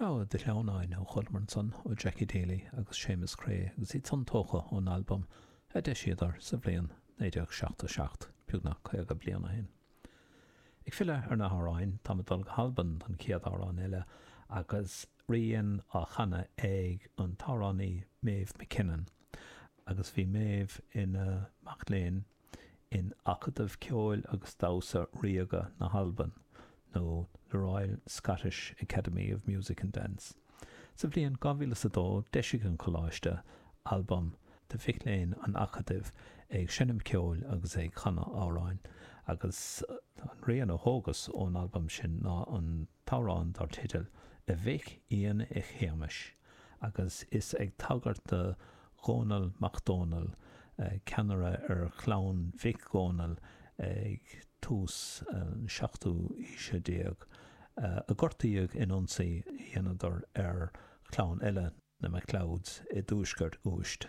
Rogha de shleamhnáin a chualamar ansan ó Jackie Daly agus Séamus Creagh agus iad san tógtha ón albam a d'eisíodar sa bhliain 1977, beagnach 50 bliain ó shin. Ag filleadh ar na hamhráin, táim ag dul go hAlbain don chéad amhrán eile agus Rian á chanadh ag an t-amhránaí Maeve MacKinnon agus bhí Maeve ina mac léinn in Acadamh Ceoil agus Damhsa Ríoga na hAlban, nó The Royal Scottish Academy of Music and Dance. Sa bhliain 2002 d'eisigh an coláiste albam de mhic léinn an Acadaimh ag seinm ceoil agus ag canadh amhráin, agus an rian a thógas ón albam sin ná an t-amhrán dar teideal A Mhic Iain Shéamais agus is ag tagairt do Dhónall Mac Dónaill, ceannaire ar chlann Mhic Dhónaill ag tús an seachtú haoise déag, a gortaíodh in ionsaí a dheineadar ar chlann eile, na MacLeods, i dtuaisceart Uibhist.